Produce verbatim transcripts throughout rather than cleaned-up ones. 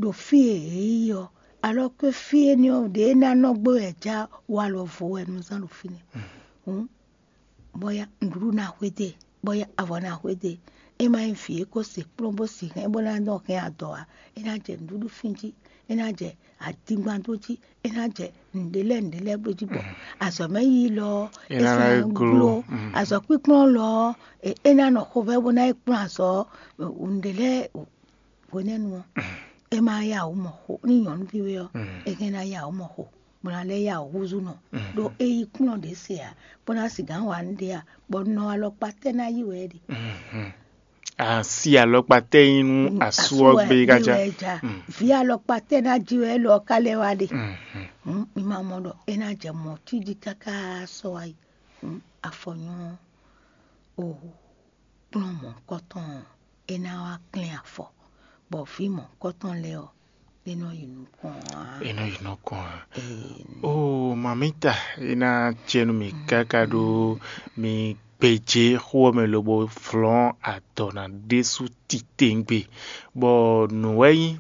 ɖo fí e yě yi ɔ́, alɔ ke fí énɛ́ ɔ́ ɖě ná nɔ gbé wɛ já walɔ vo wɛ nɔ zán ɖo fínɛ́. Hǔn bɔ ya nǔɖuɖu ná xwedó e, bɔ ya avɔ ná xwedó e. É ma nyí vǐ e ko se kplɔ́n bó si hɛn bó ná nɔ hɛn adɔ ǎ. É ná jɛ nǔɖuɖu fín jí, é ná jɛ adingban dó jí, é ná jɛ nǔɖé lɛ́ɛ nǔɖé lɛ́ɛ bló jí bɔ azɔ̌ mɛ yíyí lɔ ɔ́, é ná sɔ́ ná gló. Azɔ̌ kpíkplɔ́n lɔ ɔ́, é ná nɔ xovɛ́ bó ná yi kplɔ́n azɔ̌ nǔɖé lɛ́ɛ hwenɛ́nu ɔ́, é ma yá wǔ mɔ xo. Ní nyɔ̌nuví wɛ ɔ́, é hɛn ná yá wǔ mɔ xo, bó ná lɛ́ yá wǔ húzú nɔ, ɖó é yí kplɔ́n ɖě se ǎ, bó ná sigǎn wa nǔɖé ǎ, bɔ nɔ alɔkpa tɛ́ ná yí wɛ é ɖe? Asi alɔkpa tɛ́ nyí nú asú ɔ́ gbé kájá. Vǐ alɔkpa tɛ́ ná jí wɛ élɔ́ ɔ́ ká lɛ́ wá ɖe? Hǔn mi ma mɔ ɖɔ é ná jɛ mɔ̌ cí jí káká sɔ́ wá yi. Hǔn afɔ nyɔ́ ɔ́, o kplɔ́n mɔ̌hunkɔtɔn ɔ́, é ná wá klɛ́n afɔ, bɔ vǐ mɔ̌hunkɔtɔn lɛ́ɛ ɔ́, é nɔ yi nukɔn ǎ. É nɔ yi nukɔn ǎ. Oo, mamita, é ná cɛ nú mi káká ɖó mi gbějé xó ɔ́ mɛ lobo flɔ́n adɔ ná ɖésú titewungbe, bɔ nǔ wɛ nyí,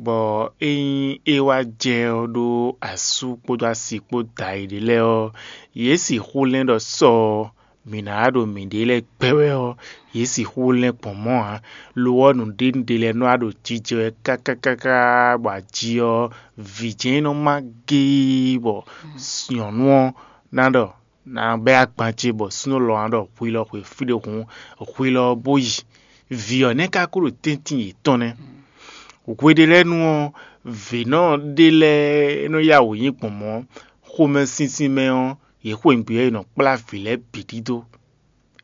bɔ ényí é wá jɛ ɔ́ ɖó asú kpódó asi kpó da e ɖě lɛ́ɛ ɔ́, yě sixú lɛ́n ɖɔ sɔ ɔ́, mǐ ná wá ɖo mǐɖée lɛ́ɛ gbɛ wɛ ɔ́, yě sixú lɛ́n gbɔn mɔ̌ ǎ. Lo ɔ́, nǔɖénúɖé lɛ́ɛ nɔ wá ɖo jijɛ wɛ kákákáká, bɔ aji ɔ́, vǐ jɛ́n nɔ má géé, bɔ nyɔ̌nu ɔ́ ná ɖɔ ná bɛ́ agban ce, bɔ súnnu lɔ ná ɖɔ hwi lɔ xwe fí ɖé hǔn, hwi lɔ bó yi. Vǐ ɔ́ nɛ́ ka ko ɖo tɛ́ntin yětɔn nɛ́. Hweɖélɛ́nu ɔ́, vǐnɔ ɖé lɛ́ɛ nɔ yá wǔ nyi gbɔn mɔ̌, xomɛsinsin mɛ ɔ́, yě xweyǐgbe ɔ́, è nɔ kplá vǐ lɛ́ɛ bǐ ɖidó.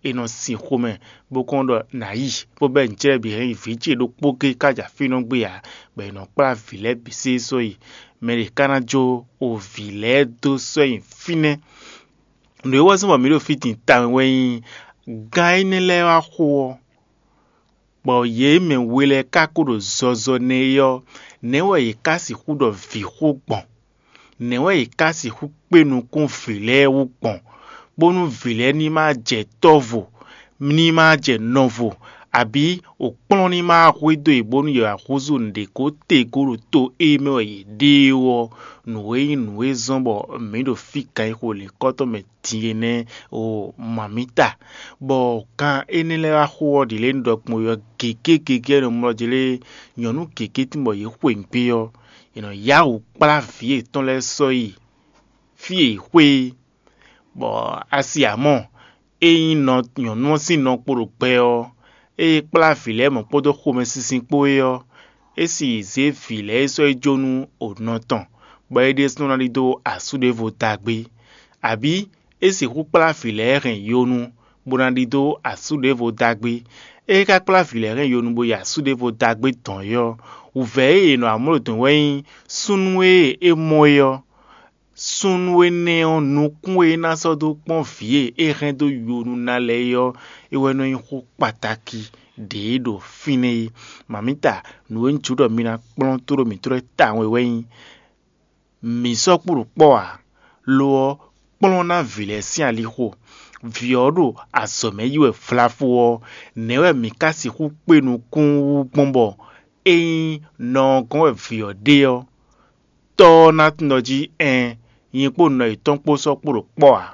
È nɔ sin xomɛ bó kɔn ɖɔ nǎ yi, bó bɛ́ nǔ cɛ́ bǐ hɛn yi vǐ ce ɖokpó géé ká jɛ afínɔ gbé ǎ, bɔ è nɔ kplá vǐ lɛ́ɛ bǐ sésɔ́ yi. Mɛ ɖě ka ná jó o vǐ lɛ́ɛ dó sɔ́ nyi fínɛ́. Nǔ e wɛ zɔ́n bɔ mǐ ɖo fí din tawun wɛ nyí gán énɛ́ lɛ́ɛ wá xo ɔ́, bɔ yě mɛ we lɛ́ɛ ka ko ɖo zɔzɔ nɛ́ é ɔ́, nɛ̌ wɛ yě ka sixú ɖɔ vǐ xó gbɔn? Nɛ̌ wɛ yě ka sixú kpé nukún vǐ lɛ́ɛ wú gbɔn, bónú vǐ lɛ́ɛ ní ma jɛ tɔ́vo, ní ma jɛ nɔvo, abǐ wǒkplɔ́n ní ma hwedó yě bónú yě wá húzú nǔɖé ko te gǒ ɖo to e mɛ wɛ yě ɖe é ɔ́, nǔ e nyí nǔ e zɔ́n bɔ mǐ ɖo fí kan e xo lǐnkɔ́tɔn mɛ din é nɛ́ o mamǐta, bɔ kan énɛ́ lɛ́ɛ wá xo ɔ́ ɖě lě un ɖɔ gbɔn ɔ́ gěgé gěgé nɔ mlɔ jlé nyɔ̌nu gěgé tín bɔ yě xwe nǔgbé ɔ́, è nɔ yá wǔ kplá vǐ yětɔn lɛ́ɛ sɔ́ yi fí e yě xwe é. Bɔ asi amɔ, ényí nɔ nyɔ̌nu ɔ́ sín nɔ kpo ɖo gbɛ ɔ́, ée kplá vǐ lɛ́ɛ mɔ̌ kpódó xomɛsinsin kpó é ɔ́, é sì zě vǐ lɛ́ɛ é sɔ́ yi jó nú o nɔ tɔn, bɔ é ɖésúnɔ ná ɖidó asú ɖěvo dagbé. Abǐ é sixú kplá vǐ lɛ́ɛ hɛn yonu, bó ná ɖidó asú ɖěvo dagbé. É ka kplá vǐ lɛ́ɛ hɛn yonu bó yi asú ɖěvo dagbé dɔn é ɔ́, wǔvɛ́ e è nɔ amló dɔn wɛ nyí súnnu e é mɔ é ɔ́. Súnnu énɛ́ ɔ́, nukún e é ná sɔ́ dó kpɔ́n vǐ e é hɛn dó yonu ná lɛ́ɛ é ɔ́, é wɛ nɔ nyí xó kpatáki ɖě e ɖo fínɛ́ é. Mamǐta, nǔ e un jló ɖɔ mi ná kplɔ́n tó ɖo mǐtɔn lɛ́ɛ tawun wɛ nyí: mǐ sɔ́ kpo ɖo kpɔ́ ǎ; lo ɔ́, kplɔ́n ná vǐ lɛ́ɛ sín alixo. Vǐ ɔ́ ɖo azɔ̌ mɛ yí wɛ vlafó ɔ́, nɛ̌ wɛ mǐ ka sixú kpé nukún wú gbɔn bɔ ényí nɔ ɔ́ gɔ́n wɛ vǐ ɔ́ ɖe ɔ́, tɔ́ ɔ́ ná tunwun ɖɔ jí ɛɛn, nyɛ kpó nɔ yětɔn kpó sɔ́ kpo ɖo kpɔ́ ǎ?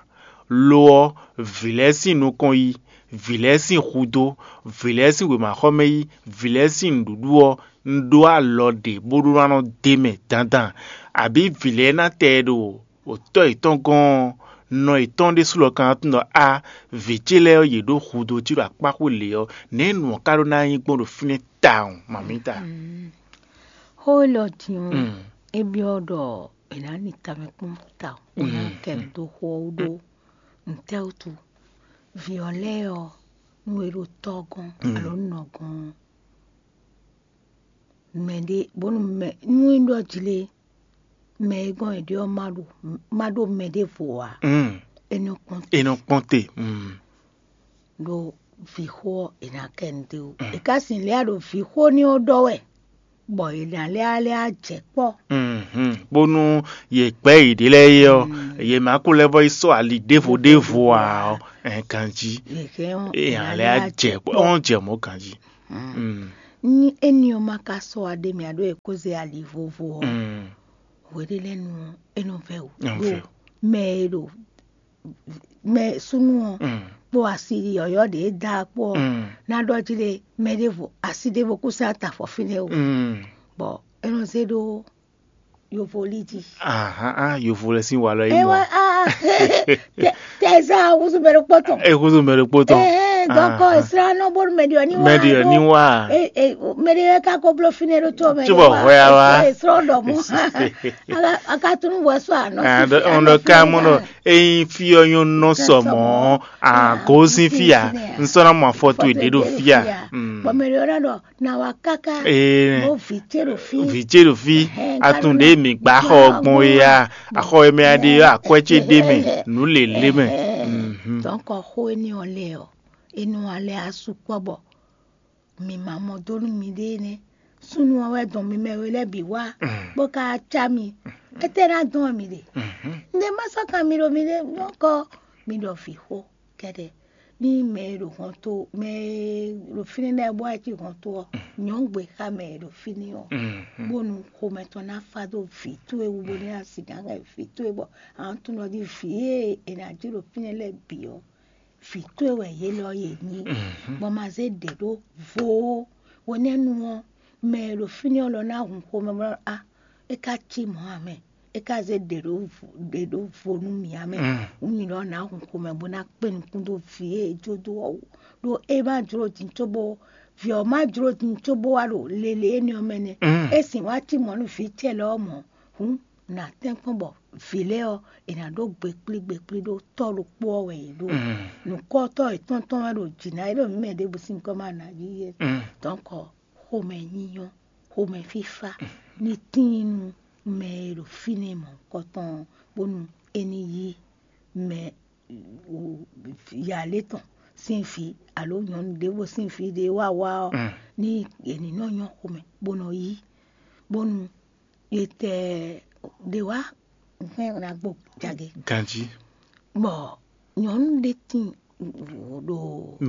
Lo ɔ́, vǐ lɛ́ɛ sín nukɔn yí, vǐ lɛ́ɛ sín hudó, vǐ lɛ́ɛ sín wěmaxɔmɛ yí, vǐ lɛ́ɛ sín nǔɖuɖu ɔ́, un ɖó alɔ ɖě bó ɖó ná nɔ d'é mɛ dandan, abǐ vǐ lɛ́ɛ ná tɛ ɛ ɖo tɔ́ yětɔn gɔ́n ɔ́, nɔ yětɔn ɖésú lɔ ka ná tunwun ɖɔ á, vǐ ce lɛ́ɛ ɔ́, yě ɖó hudó cí ɖo akpáxwé lě ɔ́, nɛ̌ nǔ ɔ́ ka ɖó ná nyí gbɔn ɖo fínɛ́ tawun, mamǐta? Xó élɔ́ din ɔ́, é byɔ́ ɖɔ è nǎ ni tamɛ kpɔ́n tawun, bó ná kɛ nǔ dó xó ɔ́ wú ɖó ntɛ́ wútu? Vǐ ɔ́ lɛ́ɛ ɔ́, nú è ɖo tɔ́ gɔ́n alo nɔ gɔ́n ɔ́, mɛɖé bónú mɛ nú é ɖɔ jlé mɛ e gɔ́n è ɖe ɔ́ ma ɖo ma ɖo mɛ ɖěvo ǎ, é nɔ kpɔ́n è nɔ kpɔ́n te. Mm. Ɖó vǐxó ɔ́, è nǎ kɛ nu dó. È ka sin lɛ́ ɖo vǐxó ní ɔ́ ɖɔ wɛ, bɔ è nǎ lɛ́ lɛ́ jɛ kpɔ́. Mhm. Bónú yě gbɛ́ yěɖée lɛ́ɛ é ɔ́, yě má kó lɛ́ vɔ yi sɔ́ ali ɖěvo ɖěvo ǎ ɔ́, ɛn ganjí. Yě hɛn ɔ́, È hɛn lɛ́ jɛ kpɔ́, ɔ́n jɛ mɔ̌ ganjí. Mm. Ní éní ɔ́ ma ka sɔ́ wa ɖ'é mɛ ǎ ɖó è kó zé ali vovo ɔ́, hweɖé lɛ́ɛ nu ɔ́, é nɔ vɛ́ wǔ ɖó mɛ e ɖo mɛ súnnu ɔ́ kpó asi yɔ̌yɔ́ ɖě e da kpó ɔ́ ná ɖɔ jí ɖe mɛ ɖěvo asi ɖěvo kú sá ta afɔ fínɛ́ o, bɔ é nɔ zé ɖó yovo lí jí. Ahán, yovo lɛ sín walɔ é mɔ. Tɛzá húzú mɛ ɖokpó tɔn. É húzú mɛ ɖokpó tɔn. Dɔkɔ ìsirá nɔ bónú mɛ ɖiɔ ní wá. Mɛ ɖiɔ ní wá. Mɛ ɖe ka ko bló fínɛ́ ɖó tó mɛ. Cóbɔ hwɛ a wá. Ìsirá ɖɔ mɔ. Akatunu wɛ sɔ ànɔ. Ɔn ɖɔ ká mɔ ɖɔ eyin fí ɔ́ nyɔ́ nɔ sɔ mɔ̌. Àgó sín fí a. N sɔ́ ná mɔ afɔ towe ɖě ɖo fí a. Bɔ mɛ ɖiɔ ná ɖɔ na wá káká. Ee. Bó vǐ ce ɖo fí. Vǐ ce ɖo fí. Atún ɖě mǐ gbá xɔ gbɔn é a, axɔ e mɛ a ɖe ɔ́, akwɛ́ ce ɖ'é mɛ, nǔ lě lě mɛ. Dɔ̌nkɔ xó énɛ́ ɔ́ lɛ́ɛ ɔ́, é nɔ wá lɛ́ asú kpɔ́ bɔ mǐ ma mɔ dó nú miɖée nɛ́. Súnnu ɔ́ wɛ dɔn mi mɛ we lɛ́ɛ bǐ wá, bó ka cá mi. Étɛ́ ná dɔn wɛ mi ɖe? Nɛ̌ má sɔ́ kan mi ɖo miɖée nyɔ́kɔ? Mi ɖɔ vǐ xó kɛ́ɖɛ́. Ní mɛ e ɖo hɔnto mɛ e ɖo fínɛ́ lɛ́ɛ bó wá cí hɔnto ɔ́, nyɔ̌ gbe xá mɛ e ɖo fínɛ́ ɔ́, bónú xomɛ tɔn ná fá dó vǐ towe wú bónú é ná sixá hɛn vǐ towe bɔ a nǎ tunwun ɖɔ jí vǐ e è nǎ ji ɖo fínɛ́ lɛ́ɛ bǐ ɔ́, vǐ towe wɛ yě lɔ yě nyí, bɔ ma zé ɖě ɖó vo ó. Hwenɛ́nu ɔ́, mɛ e ɖo fínɛ́ ɔ́ lɔ ná hun xomɛ bɔ á, é ka cí mɔ̌ ǎ mɛ, é ka zé ɖě ɖó vo nú mǐ ǎ mɛ. Hǔn nyǐ lɔ ná hun xomɛ bó ná kpé nukún dó vǐ e é jó dó ɔ́ wú, ɖó é má jló din cóbó vǐ ɔ́ má jló din cóbó wá ɖo lele énɛ́ ɔ́ mɛ nɛ́. É sǐn wá cí mɔ̌ nú vǐ ce lɔ ɔ́ mɔ̌. Hǔn nǎ tɛ́nkpɔ́n bɔ vǐ lɛ́ɛ ɔ́, è nǎ ɖó gbekplí gbekplí ɖó tɔ́ ɖokpó ɔ́ wɛ yě ɖo. Nǔkɔ́tɔ́ yětɔn tɔn wɛ ɖo jǐ ná é ɖo mǐ mɛ ɖěbǔ sín gɔ́ ma nǎ yí é. Dɔ̌nkɔ xomɛ nyínyɔ́, xomɛ fífá ní tíin nú mɛ e ɖo fínɛ́ mɔ̌hunkɔtɔn ɔ́, bónú é ní yí mɛ yǎlé tɔn sín vǐ alo nyɔ̌nu ɖěvo sín vǐ ɖé wá wá ɔ́, ní è ní nɔ nyɔ́ xomɛ bó nɔ yí, bónú è tɛ ɖě wá hɛn ná gbo jagě. Ganjí. Bɔ nyɔ̌nu ɖé tíin ɖo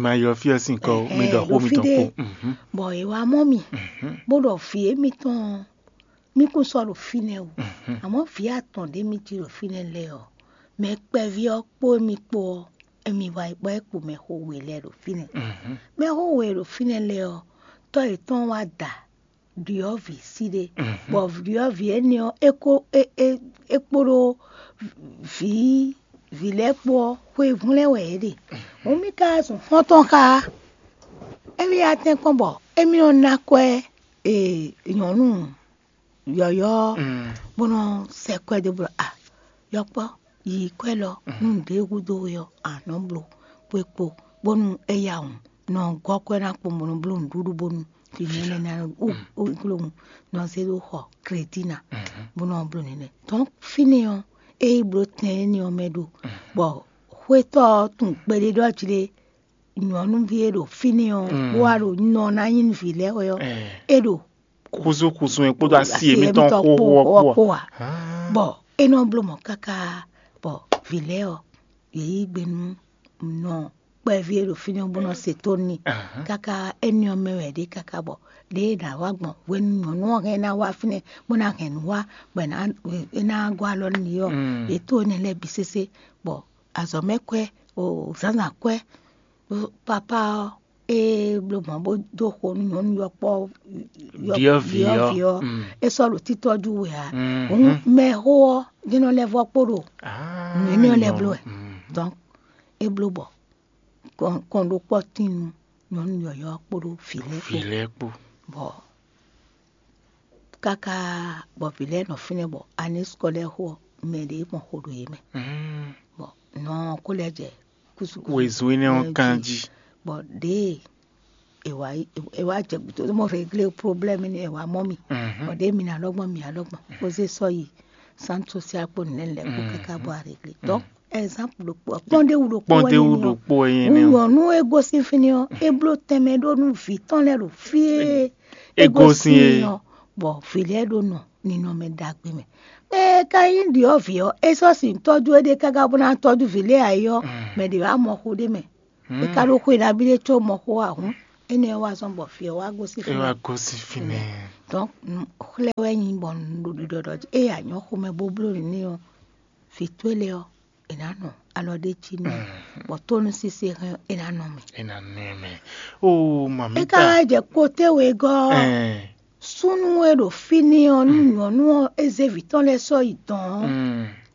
ma ylɔ fí ɔ́ sín kɔ mi ɖɔ xó mitɔn kpo. Bɔ è wá mɔ mì bó ɖɔ vǐ émítɔn ɔ́, mì kún sɔ́ ɖo fínɛ́ o. Amɔ̌ vǐ atɔn ɖé mì cí ɖo fínɛ́ lɛ́ɛ ɔ́, mɛ kpɛví ɔ́ kpó émí kpó ɔ́, émí wá yi bɔ é kpo mɛxó we lɛ́ɛ ɖo fínɛ́. Mɛxó we e ɖo fínɛ́ lɛ́ɛ ɔ́, tɔ́ yětɔn wá da ɖyɔ̌vǐ sí ɖé, bɔ ɖyɔ̌vǐ énɛ́ ɔ́, é kó é é é kpódó vǐ vǐ lɛ́ɛ kpó ɔ́, xweyǐvɔ́n lɛ́ɛ wɛ yě ɖe. Hǔn mì ka zun xɔ́ntɔn xá émí atɛ́nkpɔ́n bɔ émí nɔ ná kwɛ́ e nyɔ̌nu yɔ̌yɔ́ ɔ́, bó nɔ́ sɛ kwɛ́ dó bló a yɔkpɔ́ yi kwɛ́ lɔ nú nǔɖé gúdo we ɔ́, a nɔ́ bló xwé kpo bónú é ya wǔn nɔ gɔ́ kwɛ́ ná kpɔ́n bó nɔ́ bló nǔɖuɖu bónú fí nɛ́nɛ́ ná wú wú glóhùn nɔ zé ɖó xɔ krédí ná bó nɔ́ bló nɛ́nɛ́. Dɔ̌n fínɛ́ ɔ́, é yi bló tɛn énɛ́ ɔ́ mɛ ɖo bɔ xwétɔ́ ɔ́ tunwun kpɛɖé ɖɔ jí lé nyɔ̌nuví e ɖo fínɛ́ ɔ́ bó wá ɖo nɔ ná nyí nú vǐ lɛ́ɛ wɛ ɔ́, é ɖo Kúzú kúzú e kpódó asi émítɔn xóxó ɔ́ kpó a? Bɔ é nɔ bló mɔ̌ káká, bɔ vǐ lɛ́ɛ ɔ́, yě yí gbe nú nɔ kpɛví e ɖo fínɛ́ bó nɔ se tónú n'i. Káká énɛ́ ɔ́ mɛ wɛ é ɖe káká bɔ ɖěe è nǎ wá gbɔn hwenu nyɔ̌nu ɔ́ hɛn ná wá fínɛ́ bó ná hɛn nǔ wá, bɔ é ná gɔ́ alɔ nú yě ɔ́, yě tó énɛ́ lɛ́ɛ bǐ sésé, bɔ azɔ̌mɛkwɛ́, zǎnzǎnkwɛ́, papá ɔ́, ée bló mɔ̌ bó dó xo nú nyɔ̌nu yɔkpɔ́ Ɖyɔ̌vǐ ɔ́. Ɖyɔ̌vǐ ɔ́, é sɔ́ ɖo títɔ́jú we ǎ. Hǔn mɛxó ɔ́ jɛ́n nɔ lɛ́ vɔ́ kpó ɖo nǔ énɛ́ ɔ́ lɛ́ɛ bló wɛ. Dɔ̌n é bló bɔ kɔn ɖokpɔ́ tín nú nyɔ̌nu yɔ̌yɔ́ ɔ́ kpódó vǐ lɛ́ɛ kpó. Vǐ lɛ́ɛ kpó. Bɔ káká bɔ vǐ lɛ́ɛ nɔ fínɛ́ bɔ aní skɔ́lɛ́ xo ɔ́, mɛ ɖě mɔ xo ɖo yě mɛ. Bɔ nɔ ɔ́ kó lɛ́ jɛ kúsukúsu. Wezun énɛ́ ɔ́ kanjí. Bɔ ɖěe è wá yi- è wá jɛ gǔdo mɔ réglé problème ni è wá mɔ mi. Bɔ ɖěe mi ná lɔ gbɔn mi ná lɔ gbɔn kó zé sɔ́ yi centre social kpó nǔ lɛ́ɛ lɛ́ɛ kpó káká bɔ a réglé. Donc exemple ɖokpó kpɔ́ndéwu ɖokpó wɛ Kpɔ́ndéwu nyí nɛ́ ɔ́. Ɖokpó wɛ nyí Hǔn nɛ́ ɔ́. Nyɔ̌nu e gosín fínɛ́ ɔ́, é bló tɛnmɛ ɖó nú vǐ tɔn lɛ́ɛ ɖo fí e é gosín é ɔ́, bɔ vǐ lɛ́ɛ ɖo nɔ ninɔmɛ ɖagbe mɛ. Mɛ e ka nyí ɖyɔ̌vǐ ɔ́, é sɔ́ sin tɔ́jú éɖée káká bó ná tɔ́jú vǐ lɛ́ɛ ǎ é ɔ́, mɛ ɖě wá mɔ xo ɖé mɛ. É ka ɖó xwe nabí ɖé có mɔ xó ǎ hǔn, Énɛ́ wá zɔ́n bɔ fí ɔ́ wá gosín fínɛ́. Wá gosín fínɛ́. Donc xlɛ́ wɛ nyí bɔ un ɖo ɖiɖɔ ɖɔ jí ée a nyɔ̌ xomɛ bó bló nǔ n'i ɔ́, vǐ towe lɛ́ɛ ɔ́, è nǎ nɔ alɔ ɖé jí n'i, bɔ tónúsísí e hɛn ɔ́, è nǎ nɔ mɛ. É ná nɔ ɛ mɛ. Ó, mami. É ka wá jɛ kpóté wegɔ́ ɔ́, súnnu e ɖo fínɛ́ ɔ́, nú nyɔ̌nu ɔ́, é zé vǐ tɔn lɛ́ɛ sɔ́ yi dɔ̌n ɔ́,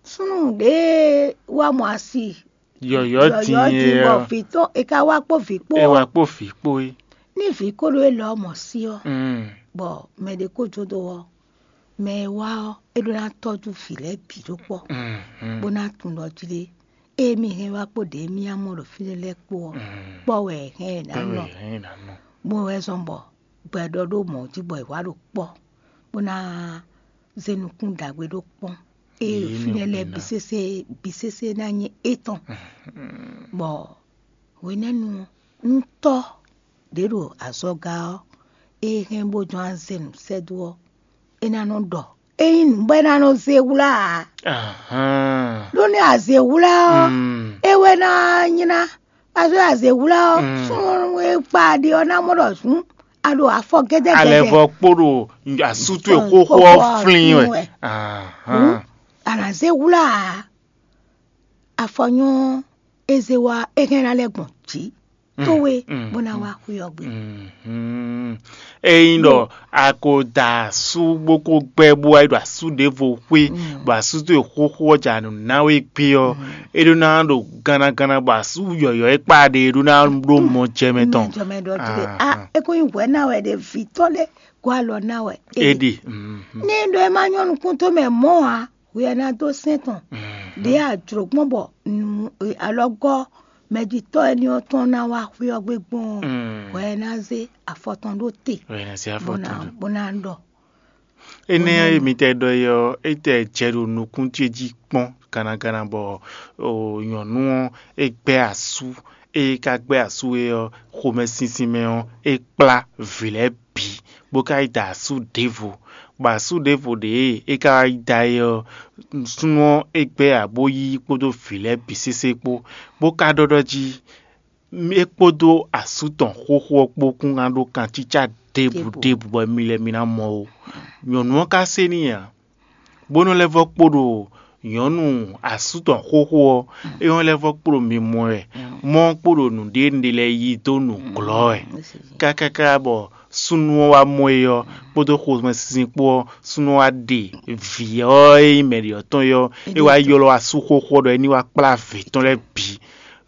súnnu ɖě wá mɔ asi yɔ̌yɔ́ din yɔ̌yɔ́ din é bɔ ɔ́, vǐ tɔn è ka wá kpó vǐ kpó é ɔ́, wá kpó vǐ kpó é. Ní vǐ ko ɖó élɔ́ mɔ sí ɔ́, bɔ mɛ ɖé ko jó dó ɔ́, mɛ e wá ɔ́, é ɖó ná tɔ́jú vǐ lɛ́ɛ bǐ ɖó kpɔ́, bó ná tunwun ɖɔ jlé ée mì hɛn wá kpó ɖě mì ná mɔ ɖo fínɛ́ lɛ́ɛ kpó ɔ́, kpɔ́ wɛ è hɛn è nǎ nɔ. Bó wɛ zɔ́n bɔ gbɛɖɔ ɖó mɔ̌ jí bɔ è wǎ ɖo kpɔ́, bó ná zé nukún ɖagbe ɖó kpɔ́n. Ée fínɛ́ lɛ́ɛ bǐ sésé bǐ sésé ná nyí étɔn. Bɔ hwenɛ́nu ɔ́, nú tɔ́ ɖě ɖo azɔga ɔ́, é hɛn bó jɔ́n azɛ nǔ sɛ́ dó ɔ́, é ná nɔ ɖɔ. Ényí nǔ bɔ é ná nɔ zé wlá ǎ. Ɖó nú a zě wlá ɔ́, é wɛ ná nylá. Pazɔ́ a zě wlá ɔ́, súnnu e kpa ɖe ɔ́ ná mɔ ɖɔ zǔn a ɖo afɔ gɛ́dɛ́gɛ́dɛ́. Alɛvɔ kpo ɖo asú towe xóxó ɔ́ flín wɛ. Hǔn, a nǎ zé wlá ǎ. Afɔ nyɔ́ ɔ́, é zé wá é hɛn ná lɛ́ gbɔn jǐ towe bó ná wá xwé ɔ́ gbe. Ényí ɖɔ a ko da asú bó ko gbɛ́ bó wá yi ɖo asú ɖěvo xwé, bɔ asú towe xóxó ɔ́ ja nǔ ná we gbé ɔ́, é ɖó ná ɖo gannaganna bɔ asú yɔ̌yɔ́ e kpa ɖe é ɖó ná ɖó mɔ jɛ mɛ tɔn. Mɛ jɔ mɛ ɖɔ jí ɖe a é kó nyí hwɛ ná wɛ ɖe vǐ tɔn lé gɔ́ alɔ ná wɛ. É ɖe. Ní ɖɔ é má nyɔ́ nukún tó mɛ mɔ̌ ǎ, hwɛ ná dó sɛ́n tɔn. Ɖě a jlǒ gbɔn bɔ alɔgɔ́ mɛjitɔ́ éní ɔ́ tɔn ná wá xwé ɔ́ gbe gbɔn ɔ́, hwɛ ná zé afɔ tɔn ɖó te. Hwɛ ná zé afɔ tɔn ɖó. Bó ná ɖɔ. Énɛ́ e mi tɛ ɖɔ é ɔ́, é tɛ jɛ ɖo nukún ce jí kpɔ́n gannaganna bɔ nyɔ̌nu ɔ́, é gbɛ́ asú. Ée é ka gbɛ́ asú é ɔ́, xomɛsinsin mɛ ɔ́, é kplá vǐ lɛ́ɛ bǐ, bó ka yi da asú ɖěvo, bɔ asú ɖěvo ɖě e é ka wá yi da é ɔ́, súnnu ɔ́ é gbɛ́ abó yí kpódó vǐ lɛ́ɛ bǐ sésé kpó, bó ka ɖɔ ɖɔ jí é kpódó asú tɔn xóxó ɔ́ kpó kún ná ɖó kancícá ɖěbǔ ɖěbǔ bɔ mi lɛ́ɛ mi ná mɔ ó. Nyɔ̌nu ɔ́ ka se n'i ǎ, bó nɔ́ lɛ́ vɔ́ kpo ɖo nyɔ̌nu asú tɔn xóxó ɔ́, é nɔ́ lɛ́ vɔ́ kpo ɖo mimɔ wɛ, mɔ ɔ́ kpo ɖo nǔɖé nǔɖé lɛ́ɛ yí dó nǔglɔ́ wɛ. Kákáká bɔ súnnu ɔ́ wá mɔ é ɔ́, kpódó xomɛsinsin kpó ɔ́, súnnu ɔ́ wá ɖe vǐ ɔ́ e nyí mɛ ɖě ɔ́ tɔn é ɔ́, é wá ylɔ́ asú xóxó ɔ́ ɖɔ é ní wá kplá vǐ tɔn lɛ́ɛ bǐ.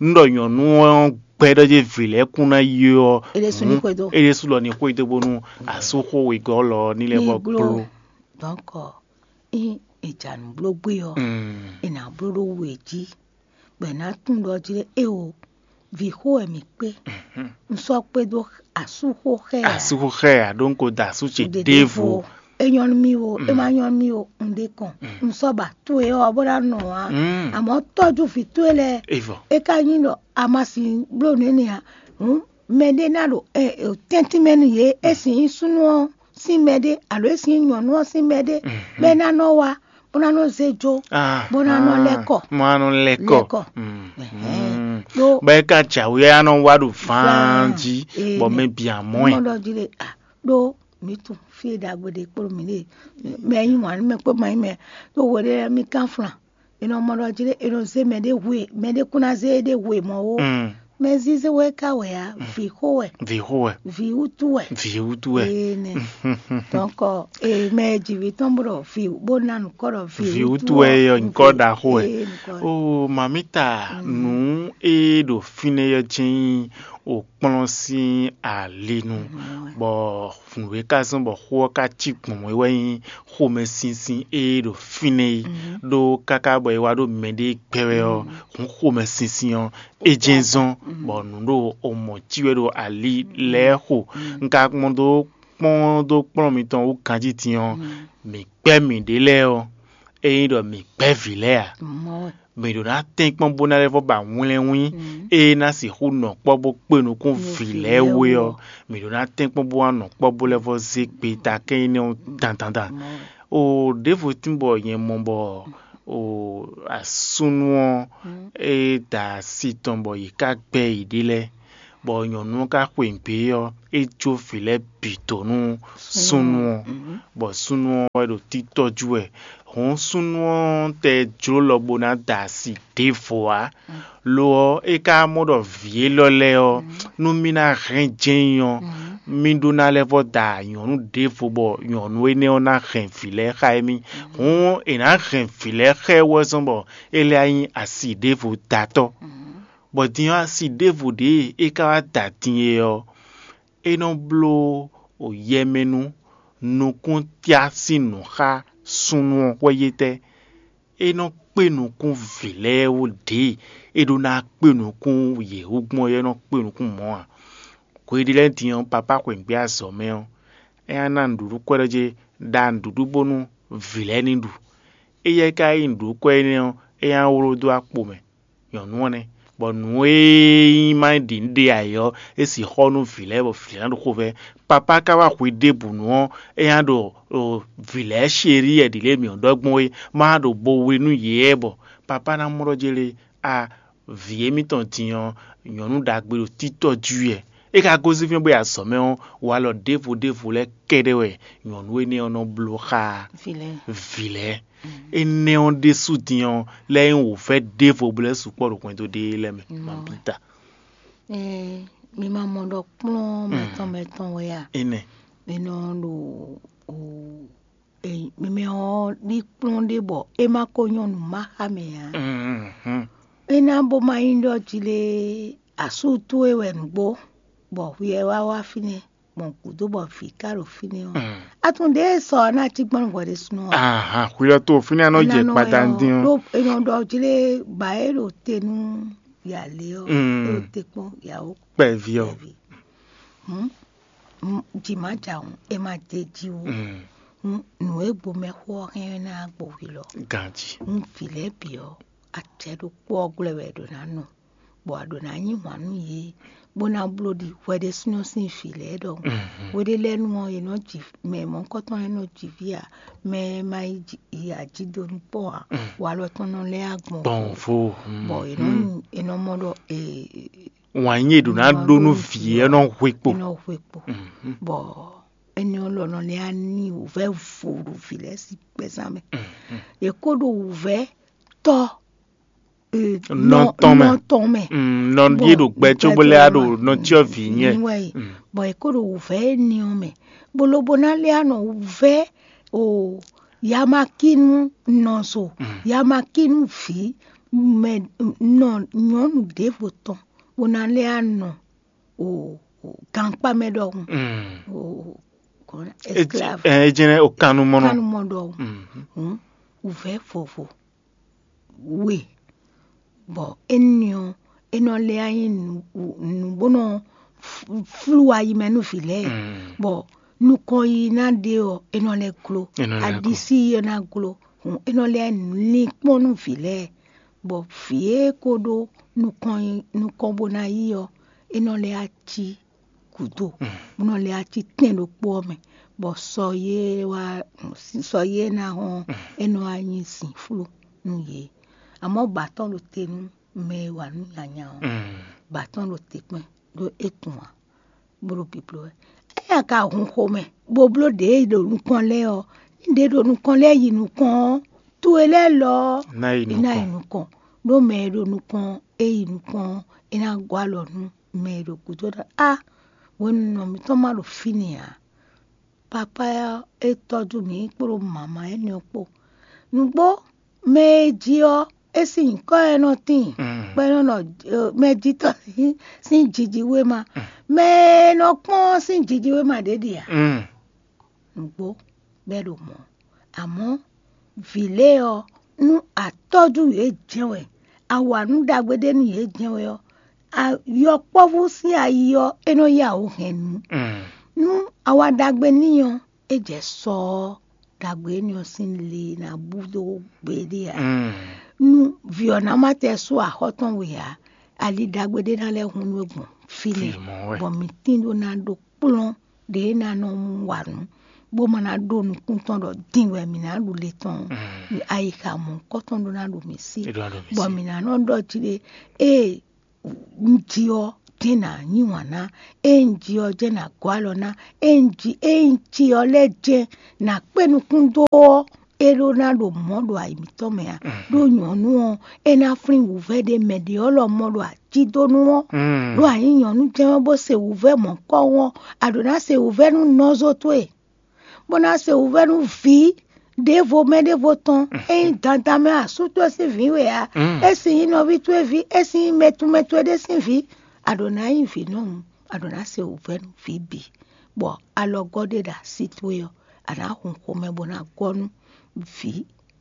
Nú ɖɔ nyɔ̌nu ɔ́ gbɛ́ ɖɔ jɛ vǐ lɛ́ɛ kún ná yi ɔ́, é ɖésú ní xwedó. É ɖésú lɔ ní xwedó bónú asú xó wegɔ́ lɔ ɔ́ ní lɛ́ vɔ gbló. Donc, ényí è ja nǔ bló gbé ɔ́, è nǎ bló ɖó we jí, bɔ è nǎ tunwun ɖɔ jí ɖé éwo vǐ xó wɛ mǐ kpé. Un sɔ́ kpédó asúxó xɛ ǎ. Asúxó xɛ ǎ, ɖó un ko da asú ce ɖěvo. É nyɔ́ nú mì o, é ma nyɔ́ nú mì o, un ɖe kɔn. Un sɔ́ ba towe ɔ́ bó ná nɔ ǎ. Amɔ̌ tɔ́jú vǐ towe lɛ́ɛ. É vɔ. É ka nyí ɖɔ a ma sin bló nǔ énɛ́ ǎ. Hǔn mɛɖé ná ɖo tɛ́ntin mɛ nú yě, é sin nyí súnnu ɔ́ sín mɛɖé, alo é sin nyí nyɔ̌nu ɔ́ sín mɛɖé, bɔ é ná nɔ wá, bó ná nɔ zé jó, bó ná nɔ lɛ́ kɔ. Bó ná nɔ lɛ́ kɔ. Lɛ́ kɔ. Bɔ é ka jǎwe á nɔ wá ɖo vǎán jí, bɔ mɛ bǐ amɔ́ ɛ. Mɔ ɖɔ jí ɖe, ɖó mǐ tunwun fí e ɖagbe ɖe kplɔ́n mǐ ɖe, mɛ e yí wǎn nú mɛ kpó ma nyí mɛ, ɖó hweɖé lɛ́ɛ mì kán flan. È nɔ mɔ ɖɔ jí ɖé, è nɔ zé mɛɖé hwe, mɛɖé kún ná zé éɖée hwe mɔ̌ ó. Mɛ zízé wɛ ka wɛ ǎ, vǐ xó wɛ. Vǐ xó wɛ. Vǐ wútu wɛ. Vǐ wútu wɛ. Ee nɛ. Donc, ee, mɛ e ji vǐ tɔn bó ɖɔ vǐ, bó ná nukɔ ɖɔ vǐ wútu wɛ, yɔ nukɔ ɖaxó wɛ. Ee, nukɔ. O mamita, nǔ e ɖo fínɛ́ yɔ jɛ́n nyí o kplɔ́n sín ali nu, bɔ nǔ e ka zɔ́n bɔ xó ɔ́ ka cí gbɔn mɔ̌ é wɛ nyí xomɛsinsin e ɖo fínɛ́ é, ɖó káká bɔ é wá ɖó mɛɖé gbɛ wɛ ɔ́, hǔn xomɛsinsin ɔ́, é jɛ́n zɔ́n, bɔ nǔ ɖo omɔ cí wɛ ɖo ali lɛ́ɛ xo. Un ka kpɔ́n dó kpɔ́n dó kplɔ́n mitɔn wú ganjí din ɔ́, mǐ gbɛ́ mǐɖée lɛ́ɛ ɔ́, ényí ɖɔ mǐ gbɛ́ vǐ lɛ́ɛ ǎ, mǐ ɖo ná tɛ́nkpɔ́n bó ná lɛ́ vɔ́ ba wlɛ́nwín e ná sixú nɔ kpɔ́ bó kpe nukún vǐ lɛ́ɛ wú é ɔ́, mǐ ɖo ná tɛ́nkpɔ́n bó wá nɔ kpɔ́ bó lɛ́ vɔ́ zé gbeta kɛ́n énɛ́ ɔ́ dandan dan. O ɖěvo tín bɔ nyɛ mɔ bɔ o asúnú ɔ́, é da asi tɔn bɔ yě ká gbɛ́ yěɖée lɛ́ɛ, Bɔ nyɔ̌nu ɔ́ ka xweyǐgbe ɔ́, é jó vǐ lɛ́ɛ bǐ dó nú súnnu ɔ́, bɔ súnnu ɔ́ wɛ ɖo títɔ́ jú wɛ. Hǔn súnnu ɔ́ tɛ jló lɔ bó ná da asi ɖěvo ǎ. Lo ɔ́, é ka mɔ ɖɔ vǐ élɔ́ lɛ́ɛ ɔ́, nú mì ná hɛn jɛ́n nyi ɔ́, mì ɖó ná lɛ́ vɔ́ da nyɔ̌nu ɖěvo bɔ nyɔ̌nu énɛ́ ɔ́ ná hɛn vǐ lɛ́ɛ xá émí. Hǔn è nǎ hɛn vǐ lɛ́ɛ xá ɛ wɛ zɔ́n bɔ é lɛ́ nyí asi ɖěvo datɔ́. Bɔ din ɔ́, asi ɖěvo ɖě e é ka wá da din é ɔ́, é nɔ bló yɛmɛnú nukúntíá sín nǔ xá súnnu ɔ́ hwɛ́yétɛ́. É nɔ kpé nukún vǐ lɛ́ɛ wú ɖě e é ɖó ná kpé nukún yě wú gbɔn é nɔ kpé nukún mɔ̌ ǎ. Hweɖé lɛ́ɛ din ɔ́, papá xweyǐgbe azɔ̌ mɛ ɔ́, é ná ná nǔɖuɖu kwɛ́ ɖɔ jé ɖa nǔɖuɖu bónú vǐ lɛ́ɛ ní ɖu. Éyɛ́ ka nyí nǔɖuɖu kwɛ́ énɛ́ ɔ́, é ná wló dó akpo mɛ. Nyɔ̌nu ɔ́ nɛ́, bɔ nǔ e nyí má ɖi nǔ ɖe ǎ é ɔ́, é sixú xɔ nú vǐ lɛ́ɛ bɔ vǐ lɛ́ɛ ná ɖo xovɛ́. Papá ka wá hwi ɖěbǔ nu ɔ́, é ná ɖo vǐ lɛ́ɛ sherí wɛ ɖǐ lě mǐ ɖɔ gbɔn é, má ɖo bo wlí nú yě wɛ bɔ papá ná mɔ ɖɔ jélé a vǐ émítɔn din ɔ́, nyɔ̌nu ɖagbe ɖo títɔ́ jí wɛ. É ka gosín fínɛ́ bó yi azɔ̌ mɛ ɔ́, walɔ ɖěvo ɖěvo lɛ́ɛ kɛ́ɖɛ́ wɛ nyɔ̌nu énɛ́ ɔ́ nɔ bló xá vǐ lɛ́ɛ. Énɛ́ ɔ́ ɖésú din ɔ́, lɛ́ nyí wǔvɛ́ ɖěvo bó lɛ́ sukpɔ́ ɖo hwɛndo ɖé lɛ́ɛ mɛ. Mabita. Mi ma mɔ ɖɔ kplɔ́n mɛtɔn mɛtɔn wɛ a? Énɛ́. Mi nɔ ɖo o, mɛmɛ ɔ́ ɖi kplɔ́n ɖé bɔ é ma ko nyɔ́ nǔ ma xá mɛ ǎ. É ná bó ma nyí ɖɔ jí lé asú towe wɛ nǔgbó, bɔ hwi ɛ wá wá fínɛ́, gbɔn gǔdo bɔ vǐ ka ɖo fínɛ́ ɔ́, a tunwun ɖěe sɔ ɔ́ ná cí gbɔn hwɛ ɖésúnɔ ɔ́? Ahan, hwi ɔ́ to fínɛ́ ɔ́ nɔ jɛ kpata dín ɔ́. Ɖó è nɔ ɖɔ jí lé ba é ɖo te nú yǎ lé ɔ́, é ɖo te kpɔ́n yǎwó kpɛví ɔ́. Jǐ má jǎ hǔn, é má dé jí ó. Nǔ e gbo mɛxó ɔ́ hɛn ɔ́ ná gbo hwi lɔ. Ganjí. Nú vǐ lɛ́ɛ bǐ ɔ́, acɛ ɖokpó ɔ́ glɔ́ wɛ è ɖǒ ná nɔ, bɔ a ɖǒ ná yí wǎn nú yě, bó ná bló ɖi hwɛ ɖésúnɔ sín vǐ lɛ́ɛ ɖɔhun. Hweɖé lɛ́ɛ nu ɔ́, è nɔ ji mɛ mɔ̌hunkɔtɔn e nɔ ji vǐ ǎ, mɛ e ma yi ajídonu kpɔ́n ǎ, walɔ tɔn nɔ lɛ́ agbɔn gbɔn vo. Bɔ è nɔ mɔ ɖɔ wǎn yí è ɖǒ ná ɖó nú vǐ ɔ́ nɔ hwe kpo. È nɔ hwe kpo. Bɔ énɛ́ ɔ́ lɔ nɔ lɛ́ ní wǔvɛ́ vo ɖo vǐ lɛ́ɛ sín gbɛzán mɛ. È kó ɖo wǔvɛ́ tɔ́ nɔ tɔn mɛ. Nɔ tɔn mɛ. Nɔ ɖíe ɖo gbɛ cóbó lɛ́ ɖo nɔ cyɔ vǐ nyɛ. Bɔ è kó ɖo wǔvɛ́ énɛ́ ɔ́ mɛ, bó lobo ná lɛ́ nɔ wǔvɛ́ o yamakínu nɔzo, yamakínu vǐ mɛ nɔ nyɔ̌nu ɖěvo tɔn, bó ná lɛ́ nɔ o gankpá mɛ ɖɔhun. Esclave. É jɛ́n o kannumɔnɔ. Kannumɔ ɖɔhun. Wǔvɛ́ vovo we, bɔ énɛ́ ɔ́, é nɔ lɛ́ nyí nǔ bó nɔ flú ayi mɛ nú vǐ lɛ́ɛ, bɔ nukɔn yi ná ɖe ɔ́, é nɔ lɛ́ gló. Aɖisí yi ɔ́ ná gló. Hǔn é nɔ lɛ́ lin kpɔ́n nú vǐ lɛ́ɛ, bɔ vǐ e ko ɖó nukɔn bó ná yí ɔ́, é nɔ lɛ́ cí gǔdo, bó nɔ lɛ́ cí tɛn ɖokpó ɔ́ mɛ, bɔ sɔ yé wá sɔ yé ná hɔn é nɔ wá nyí zǐnflú nú yě. Amɔ̌ ba tɔn ɖo te nú mɛ e wa nǔ nyanya ɔ́, ba tɔn ɖo te kpɛn ɖó é tunwun ǎ, bó ɖo bibló wɛ. Éyɛ́ a ka hun xomɛ bó bló ɖě e ɖo nukɔn lɛ́ɛ ɔ́, ní ɖě ɖo nukɔn lɛ́ɛ yi nukɔn ɔ́, towe lɛ́ɛ lɔ ɔ́, ná yi nukɔn. Ɖó mɛ e ɖo nukɔn ɔ́, é yi nukɔn ɔ́, é ná gɔ́ alɔ nú mɛ e ɖo gǔdo ɖɔ á, hwenu nɔ mǐtɔn ma ɖo fínɛ́ ǎ. Papá ɔ́ é tɔ́jú mǐ kpódó mama énɛ́ ɔ́ kpó. Nǔgbó mɛ e jí ɔ́, é sín nyǐkɔ ɛ nɔ tíin, bɔ é nɔ nɔ mɛjitɔ́ sín jiji wéma. Mɛ e nɔ kpɔ́n sín jiji wéma ɖě ɖe ǎ. Nǔgbó bɔ é ɖo mɔ̌. Amɔ̌ vǐ lɛ́ɛ ɔ́, nú a tɔ́jú yě jɛ́n wɛ, a wa nǔ ɖagbe ɖé nú yě jɛ́n wɛ ɔ́, yɔkpɔ́vú sín ayi ɔ́, é nɔ yá wǔ hɛn nǔ. Nú a wa ɖagbe n'i ɔ́, é jɛ sɔ ɔ́, ɖagbe énɛ́ ɔ́ sín le ná bú dó gbeɖé ǎ. Nú vǐ ɔ́ ná má tɛ sú axɔ́ tɔn we ǎ, ali ɖagbe ɖé ná lɛ́ hun nú é gbɔn fínɛ́, bɔ mǐ tín ɖó ná ɖó kplɔ́n ɖě ná nɔ wa nǔ, bó ma ná ɖó nukún tɔn ɖɔ din wɛ mǐ ná ɖu le tɔn. Ayixa mɔ̌hunkɔtɔn ɖó ná ɖo mǐ sí, bɔ mǐ ná nɔ ɖɔ jí ɖé ée un ji ɔ́, jɛ́n nǎ yí wǎn ná. Ée un ji ɔ́ jɛ́n nǎ gɔ́ alɔ ná. Ée un ji ée un ci ɔ́ lɛ́ɛ jɛ́n nǎ kpé nukún dó ɔ́, é ɖó ná ɖo mɔ̌ ɖo ayi mǐtɔn mɛ ǎ. Ɖó nyɔ̌nu ɔ́, é ná flín wǔvɛ́ ɖé mɛ ɖě ɔ́ lɔmɔ̌ ɖo ajídónú ɔ́. Ɖó a nyǐ nyɔ̌nu jɛ́n ɔ́ bó se wǔvɛ́ mɔ̌kɔ́wún ɔ́, a ɖǒ ná se wǔvɛ́ nú nɔzo towe, bó ná se wǔvɛ́ nú vǐ ɖěvo mɛ ɖěvo tɔn. É nyí dandan mɛ asú towe sín vǐ we ǎ. É sin nyí nɔví towe ví, é sin nyí mɛtumɛ towe ɖé sín vǐ. A ɖǒ ná nyí vǐ nɔ́ hǔn, a ɖǒ ná se wǔvɛ́ nú vǐ bǐ, bɔ alɔgɔ́ ɖé ɖo así towe ɔ́, a nǎ hun xomɛ bó ná gɔ́ nú vǐ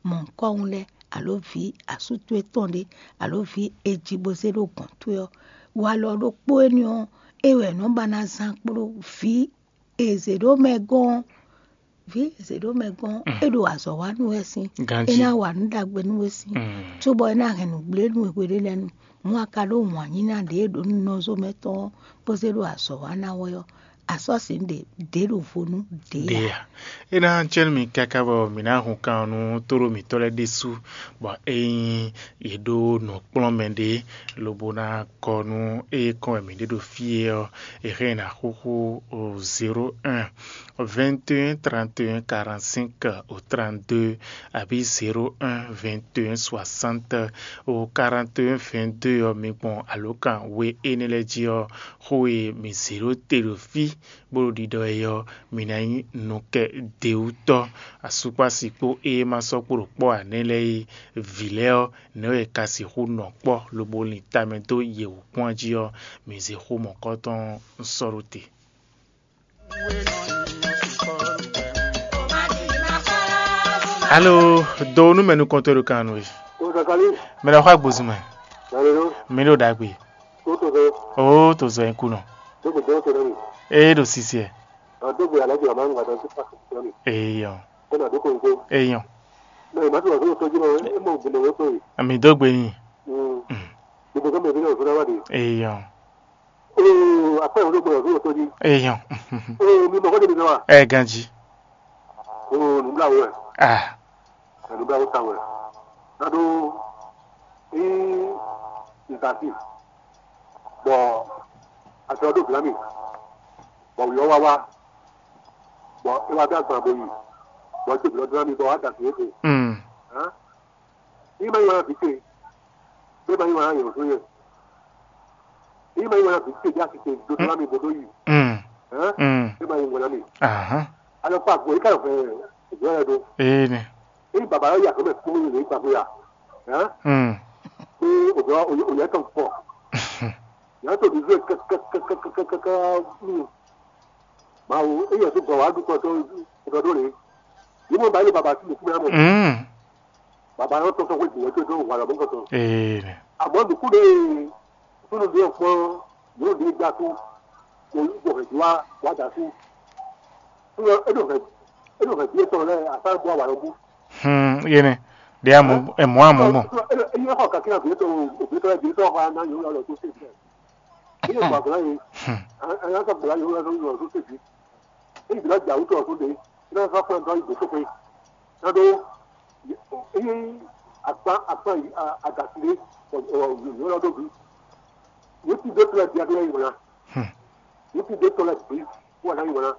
mɔ̌hunkɔ́hún lɛ́ɛ, alǒ vǐ asú towe tɔn ɖé, alǒ vǐ e ji bó zé ɖó gɔ̌n towe ɔ́. Walɔ ɖokpó énɛ́ ɔ́, é wɛ è nɔ́ ba ná zán kpló vǐ e zě ɖó mɛ gɔ́n ɔ́. Vǐ e zě ɖó mɛ gɔ́n ɔ́, é ɖo azɔ̌ wa nú wɛ sín. É ná wa nǔ ɖagbe nú we sín, cóbɔ é ná hɛn nǔgblénu e hweɖé lɛ́ɛ nu. Mɔ̌ a ka ɖó wǎn yí ná ɖě e ɖo nú nɔzo mɛ tɔn ɔ́, bó zé ɖo azɔ̌ wa ná wɛ ɔ́, a sɔ́ sǐ ɖě ɖě ɖo vo nú ɖě ǎ. Ɖě ǎ. É ná jɛ nú mi káká bɔ mǐ ná hun kan ɔ́ nú tóɖó mǐtɔn lɛ́ɛ ɖésú, bɔ ényí yě ɖó nǔkplɔ́nmɛ ɖé, lobo ná kɔ nú ée kɔn wɛ mǐ ɖe ɖo fí é ɔ́, è hɛn ná xúxú zéro un, vingt et un, trente et un, quarante-cinq au trente-deux, abǐ zéro un, vingt et un, soixante au quarante et un, vingt-deux ɔ́, mi gbɔn alǒkan we énɛ́ lɛ́ɛ jí ɔ́, xó e mǐ zě ɖó te ɖo fí bó ɖo ɖiɖɔ é ɔ́, mi ná nyí nukɛ dewútɔ́. Asúkpási kpó ée ma sɔ́ kpo ɖo kpɔ́ ǎ nɛ́ lɛ́ɛ é, vǐ lɛ́ɛ ɔ́, nɛ̌ wɛ è ka sixú nɔ kpɔ́ lobo lin tamɛ dó yě wú kpɔ́n jí ɔ́, mi zé xó mɔ̌kɔtɔn sɔ́ ɖó te. Alo, do nú mɛ nukɔntɔn ɖo kan nú we. Mɛ ɖo xɔ agbozun mɛ. Mi ɖo ɖagbe. Oo, to zɔ nyi kunɔ. Ee, ɖo sisiɛ. Eyɔ. Eyɔ. Ami dó gbe nyi. Eyɔ. Eyɔ. Ɛ ganji. Ah. Nǔbláwó ta wɛ. Nado ényí nzasi bɔ azɔ ɖó glǎmi bɔ wǐ ɔ́ wá wá bɔ é wá dó agban bo yi bɔ é dó glɔ́ glǎmi bɔ wá da azǐ éɖe. Mm. Hǎn, ényí ma nyí wǎn vǐ ce, bó ma nyí wǎn yɔ̌ zɔ́n yɛ. Ényí ma nyí wǎn vǐ ce dó asi ce dó glǎmi bo dó yi. Mm. Hǎn, Mm. é ma nyí wǎn mi. Ahán. Alɔ kpa gbɔ é ka yɔ hɛn ìgbọ́ yɛ ɖo. Ee nɛ. Ényí bàbá yɔ yà kó mɛ kpó lè gbàgbé yà. Hǎn, Mm. Pé òjò òyà tɔn pọ̀. Yàrá tó di zú ẹ kẹkẹkẹkẹkẹkẹ. Mawu, eyɛ tó gbɔ wá dúkọ tó tó ɖó lè. Yìí mo bá yẹ bàbá sí nìkú mìíràn mọ̀. Mm. Bàbá yọ tọ́tọ́ pé gbìyànjú tó tó wà lọ́mọ́ kọ̀tọ̀. Ee nɛ. Àmọ́ nìkú lè túnú bí ọ̀pọ̀ yóò di gbà tó kò yí gbọ̀ hẹ̀ wá wá dà sí. Túnú ẹ̀dùn hẹ̀ ẹ̀dùn hẹ̀ bí ètò rẹ̀ àtàgbọ́ àwàlọ́gbó. Hmm, yene. Dia mu e mu amu mo. Eyi xɔ kakla bi to bi to bi to xɔ ana yɔ lɔ to se. Eyi xɔ kakla yi. Ana ka gbla yɔ lɔ to se bi. Eyi bila ja wuto to de. Ina fa kpa ndo yi to pe. Na do. Eyi akpa akpa adasile. Yɔ lɔ do bi. Wuti do tla dia do yi wala. Wuti do tla bi. Wala yi wala.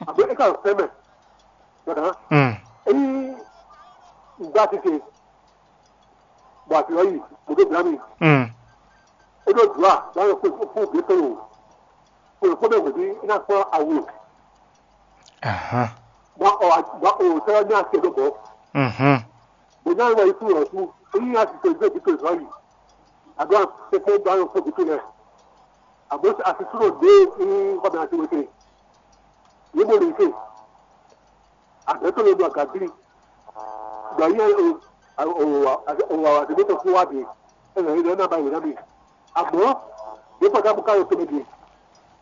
Abe e ka fɛ mɛ. Dada. Mm. Eyi ŋgba tete. Bɔ afi ɔyi mo ɖo bla mi. Mm. E ɖo dua bla yɔ kpe kpe kpe kpe o. Kpe kpe bɛ wòdi ina kpɔ awu. Ahan. Bɔ ɔ bɔ o sɛ nya se ɖo bɔ. Mhm. Bɔ nya wɔ isu yɔ su eyi nya si to isu ebi to zɔ yi. Ado a kpekpe bla yɔ kpe kpe lɛ. Abo asi su ɖo de eyi kɔ bɛ asi wete. Ye bo le se. Àgbẹ̀tọ̀ ló lu àgàgbìlì. Gbà yí o o o àdébótò fún wa bì. Ẹ lọ yí lọ náà bá yìí náà bì. Àmọ́ yóò pàtàkì káyọ̀ tó lè bì.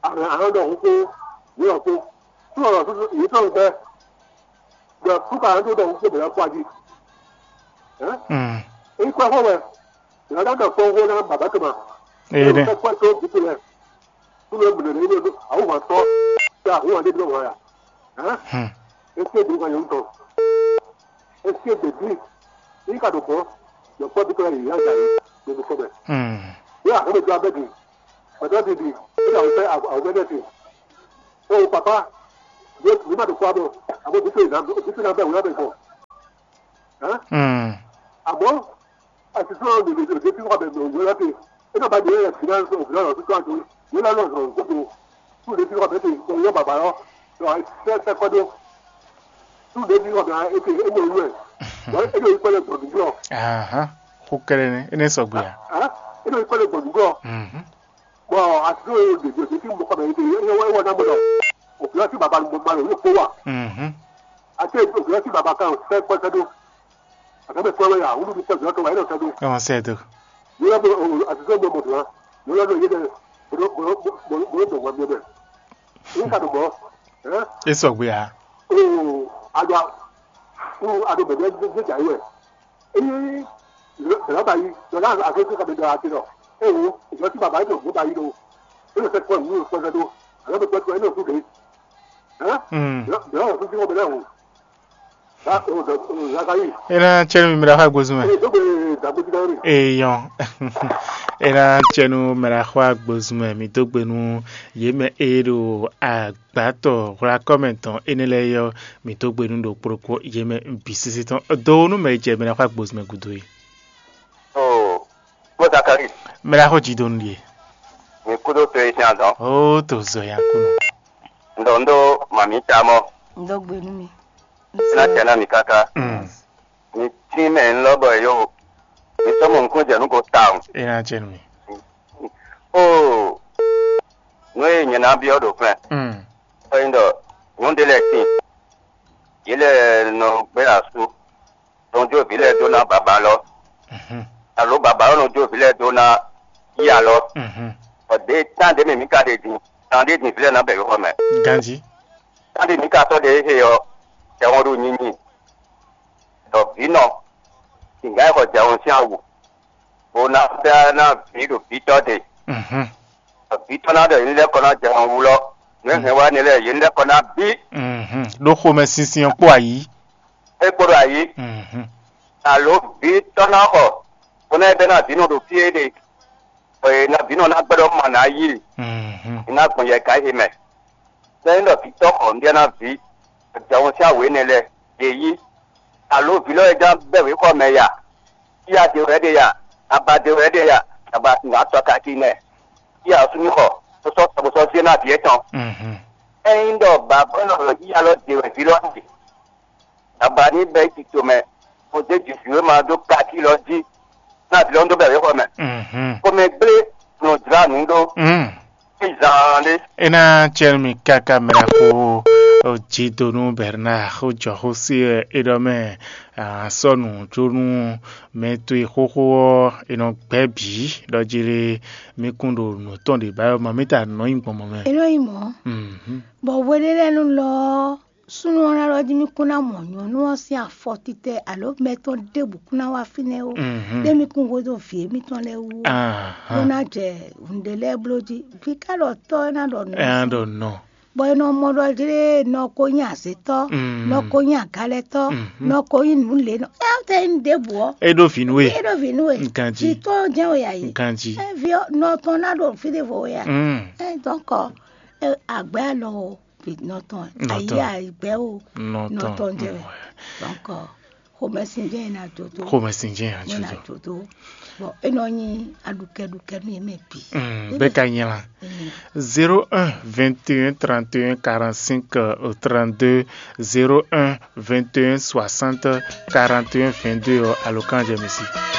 Àwọn àwọn ọ̀dọ̀ òun kó yóò tó. Fún ọ̀rọ̀ tuntun èyí tó ń bẹ́. Gbà fún kàrà tó dọ̀ òun kó bẹ̀rẹ̀ kó ají. Ẹ́ Mm. Èyí kọ́ fún wẹ̀. Ìyá dá dọ̀ fún owó náà bàbá tó ma. Ee dɛ. Kọ́ tó bùkún lẹ̀. Tó lọ mìíràn ní ìlú àwọn wà tọ́. Ṣé àwọn wà níbi náà wà yà? Ẹ́ Hmm. Ẹ sí èdè kan yẹn ń tọ̀. Ẹ sí èdè bí. Yín kà dò bọ́. Yọ̀pọ̀ bí kọ́lá yìí yá ìyá yìí. Gbogbo kọ́ bẹ̀. Hmm. Yóò àkọ́bẹ̀ tó abẹ́ dì. Pɛtɛ́ didi, é ɖo awǔ fɛ́ awǔ fɛ́ ɖɛ́ te. Oo papa, yě ní ma ɖo kpɔ́ abɔ, àbó bí tó yě ná bí tó ná bɛ́ wǔ ná bɛ gbɔn. Hɛn? Mm. Àmọ́ àtúntò ɔ́ lè lè dé fífọ́ bɛ̀rẹ̀ òwúrọ̀ láti é náà bá dé yẹ fìdá òwúrọ̀ lọ títí àjò yìí lọ́nà ọ̀sán gbogbo tó lè fífọ́ bẹ́ẹ̀ tó yọ bàbá lọ lọ sẹ́ sẹ́ kọ́ dó tó lè fífọ́ bẹ́ẹ̀ é ké é mọ̀ olú ẹ̀ lọ é lè kọ́ lẹ̀ gbọ̀dúgbọ̀ Ahán. Xó kɛ́ɖɛ́ nɛ́, é nɛ́ sɔgbe ǎ. Hɛn? É lè kọ́ lẹ̀ gbọ̀dúgbọ̀ Mhm. Bɔn àtúntò ɔ́ lè dé dé fí mɔkɔ mɛ é wɔ ná mọ̀ lọ òwúrọ̀ tí bàbá ló ma lò yóò kó wà Mhm. Àti òwúrọ̀ tí bàbá kan fẹ́ kọ́ sẹ́ dó àtàbẹ̀ kọ́ wẹ̀ yà wúlò ní sẹ́ òwúrọ̀ tó wà é lọ sẹ́ dó Kí wọ́n sẹ́ tó. Yóò lọ àtúntò mọ̀ mọ̀ tó wá yóò lọ yé dẹ̀ bolo bolo bolo bolo bolo bolo bolo bolo Ní kàdó mọ́. Ẹ́ É sɔgbe ǎ. Oo àdó àdó bẹ̀rẹ̀ gbéjà yìí wẹ̀. Ényí bẹ̀rẹ̀ bá yí lọ́dá àgọ́ tó kàdé dọ̀ àti lọ. Ẹ wo ìjọ tí bàbá yìí tó gbé bá yí lọ. Ẹ lọ fẹ́ kọ́ ìlú ìfọ́sẹ́ tó. Àlọ́ mi gbọ́ tó ẹ lọ sóde. Ẹ́ Mm. Bẹ̀rẹ̀ ọ̀rọ̀ tó ti wọ́n bẹ̀rẹ̀ wò. Ẹ ná tsɛ́ nú mi, mi ɖo axwá gbozún mɛ. Eyɔn. Ena tsɛnu mɛ ɖo axwá gbozún mɛ, mi dó gbe nú yě mɛ e ɖo agbátɔ hwlakɔ́ mɛ tɔn énɛ́ lɛ́ɛ ɔ́, mi dó gbe nú ɖo kplɔ́kplɔ́ yě mɛ bǐ sésé tɔn. Do nú mɛ e jɛ mɛ ɖo axwá gbozún mɛ gúdo é. Oo, kpɔ́ Zakari, Mɛ ɖo axɔ jí dó nú ɖíe. Mi kúdó to e sín azɔn. Ó to zɔ ya kú nɔ. Ŋdɔ ŋdó mami tamɔ. Ŋdɔ gbe nú mi. Ná tɛ ná mi káká. Mm. Mi tín mɛ ńlɔ bɔ yó. Mi sɔmɔ nukún jɛ nú ko tawun. É ná jɛ nú mi. Oo, nú e nyɛ ná byɔ́ ɖo fɛn. Mm. Ɔyin ɖɔ nyɔ̌nu ɖé lɛ́ɛ tíin. Yě lɛ́ɛ nɔ gbé asú. Nɔ jó vǐ lɛ́ɛ dó ná baba lɔ. Mhm. Alo baba ɔ́ nɔ jó vǐ lɛ́ɛ dó ná yí alɔ. Mhm. Bɔ ɖě tán ɖě mɛ mǐ ka ɖe din, tán ɖé din vǐ lɛ́ɛ ná bɛ yǒxɔ mɛ. Ganjí. Tán ɖé mǐ ka sɔ́ ɖe éhe ɔ́, jɛ hɔn ɖo nyinyi. Ɖɔ vǐ nɔ, sǐngán e xɔ jɛ hɔn sín awu, bó ná bɛ́ ná vǐ ɖo vǐtɔ́ ɖe. Mhm. Vǐ tɔn ná ɖɔ yě ní lɛ́ kɔ ná jɛ hɔn wú lɔ, nǔ e hɛn wá ní lɛ́ɛ yě ní lɛ́ kɔ ná bí. Mhm. Ɖó xomɛ sinsin ɔ́ kpó ayǐ. É kpo ɖo ayǐ. Mhm. Alo vǐ tɔn ná xɔ, bó ná bɛ́ ná vǐ nɔ ɖo fí é ɖe, bɔ è ná vǐ nɔ ná gbɛ́ ɖɔ mɔ nǎ yí, Mhm. è ná gbɔn yɛ ka é mɛ. Sɛ́n ɖɔ vǐ tɔn xɔ nǔɖé ná vǐ, jɛ hɔn sín awu énɛ́ lɛ́ɛ, yě yí. Alo vǐ lɔ e ján bɛ́ wěxɔ mɛ ya, yíyá de wɛ é ɖe ya, aba de wɛ é ɖe ya, aba nǎ tɔ kaki nɛ, yíyá ɔ́ súnnu xɔ, bó sɔ́ tɔ bó sɔ́ zé ná vǐ étɔn. Mhm. Ényí ɖɔ bǎbɔ́ nɔ yíyá lɔ de wɛ vǐ lɔ ɖe, aba ní bɛ́ yi tito mɛ, bó zé jǐ vǐ e ma dó kaki lɔ jí, ná vǐ lɔ dó bɛ́ wěxɔ mɛ. Mhm. Xomɛ gblé nɔ jlá nǔ ɖó. Mm. Zaan ɖé. É ná cɛ́ nú mi káká mɛ ɖaxó Jidonu Bernard xó jɔ xó sí wɛ é ɖɔ mɛ a sɔ́ nǔ jó nú mɛ towe xóxó ɔ́, è nɔ gbɛ́ bǐ ɖɔ jí lé mí kún ɖo nǔ tɔn ɖě ba wɛ mɔ mí ta nɔ nyi gbɔn mɔ mɛ. É nɔ nyí mɔ̌. Mhm. Bɔ hweɖé lɛ́ɛ nú lɔ ɔ́, súnnu ɔ́ ná ɖɔ jí mí kún ná mɔ nyɔ̌nu ɔ́ sín afɔ titɛ alo mɛ tɔn ɖěbǔ kún ná wá fínɛ́ ó. Mhm. Ɖé mí kún hwedó vǐ émítɔn lɛ́ɛ wú ó. Ahán. Bó ná jɛ nǔɖé lɛ́ɛ bló jí. Vǐ ká ɖɔ tɔ́ é ná ɖɔ nǔ. Ɛ á ɖɔ nɔ. Bɔ è nɔ mɔ ɖɔ jlé nɔ ko nyí azětɔ́, Mm. nɔ ko nyí agalɛtɔ́, Mhm. nɔ ko nyí nǔlénɔ. É ɔ́ tɛ nyí ɖěbǔ ɔ́. É ɖó vǐ nú we. É ɖó vǐ nú we. Ganjí. Vǐ tɔn jɛ́n we yǎ yí. Ganjí. É vǐ ɔ́, nɔ tɔn ná ɖo fí ɖěvo we yǎ. Mm. É dɔn kɔ, é, àgbɛ́ alɔ o, vǐ nɔ tɔn. Nɔ tɔn. Ayé àgbɛ́ o, Nɔ nɔ tɔn. Tɔn jɛ we. Mm. Dɔn kɔ, xomɛsin jɛ́n é ná jó dó. Xomɛsin jɛ́n é ná jó dó. Bɔ é nɔ nyí aɖukɛɖukɛ nú yě mɛ bǐ. Mm, bɛ́ ka nyla. Mm. Zéro un vingt et un trente et un quarante-cinq trente-deux, zéro un vingt et un soixante quarante et un vingt-deux ɔ́, alo kan jɛ mi sí.